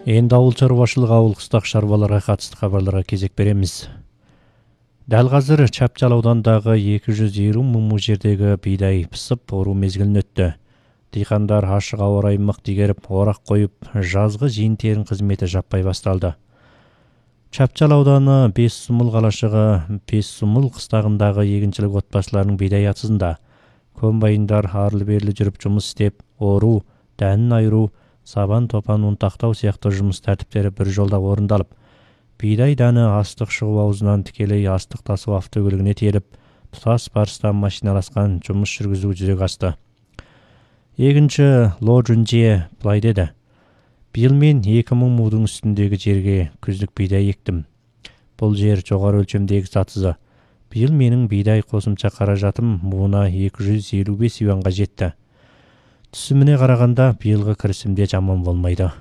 Энди ауыл чарбашылык ауыл кыстак шаруаларга катыстуу кабарларга кезек беребиз. Дал азыр Чапчал аудандагы 220 муң жердеги бийдай пысып оруу мезгилин өттү. Дыйкандар ашык аба ырайы мык дигерип орак коюп, жазгы жыйын-терин кызмети жаппай башталды. Чапчал ауданы 5 сумул калашыгы 5 сумул кыстагындагы эгинчилик отбасыларынын бийдай атызында комбайндар арлы-берлі жүрүп жумус istеп, оруу, дәнин айыруу, сабан топан унтактоо сыяктуу жумус тартиптери бир жолдо орундалып, бийдай даны астык чыгуу абузунан тикелей астык тасуу автокөлүгүнө тиелип, тутас барыстан машиналашкан жумуш жүргүзүү жүзөгө ашты. Эгинчи Ло Жунжие былай деди: "Быйыл мен 2000 муудун үстүндөгү жерге күздүк бийдай эктим. Бул жер жогору өлчөмдөгү сатызы. Быйыл менин бийдай косумча каражатым мууна 255 юанга жетти. Түсүмүнө караганда быйылгы кирисимде жаман болмойду.